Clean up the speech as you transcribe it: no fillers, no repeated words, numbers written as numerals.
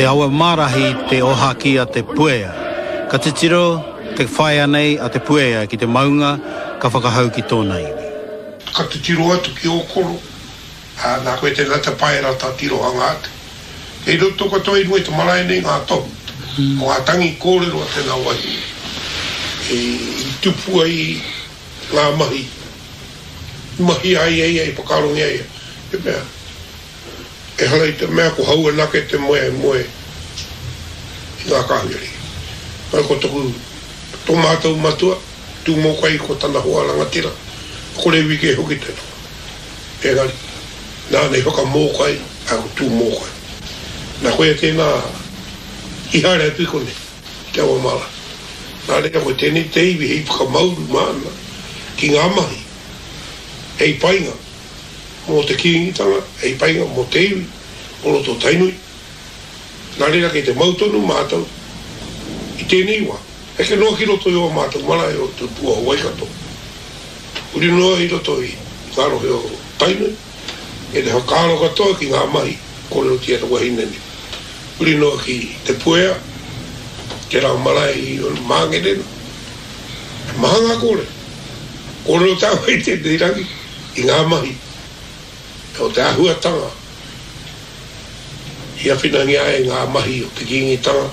awa mārahi te ohaki a Te Puea. Ka titiro te whaea nei a Te Puea ki te maunga ka whakahau ki tōna iwi. Ka titiro atu ki Ōkoro, ā, nā koe tēnā te paera tā tirohanga atu. Kei roto katoa i runga i te marae nei ngā tohu o ngā tangi kōrero a tēnā wahine i tupu ai ngā mahi i mahia ai e ia, i whakaarongia ai e ia. Te mea, ehara i te mea ko hau anake te moe e moe i ngā kāhui ariki. Engari ko toku, tō mātou matua, Tūmōkai ko tana hoa rangatira, ko Rewi kē hoki te toa. Engari, nāna i whakamōkai a ko Tūmōkai. Nā koia tēnā i haere atu i konei, i Te Awamara. Nā reira ko tēnei te iwi hei whakamauru māna ki ngā mahi hei painga mō te Kīngitanga, hei painga mō te iwi o roto o Tainui. Nā reira kei te mau tonu mātou i tēnei wā, heke noa ki roto i ō mātou marae o Te Pua o Waikato, huri noa i roto i ngā rohe o Tainui, kei te whakaaro katoa ki ngā mahi kōrerotia te wahine nei, huri noa ki Te Puea, tērā marae i Māngere, he maha ngā kōrero. Kōrero tāua i tēnei rangi i ngā mahi o te āhuatanga i awhinangia ai ngā mahi o te Kīngitanga.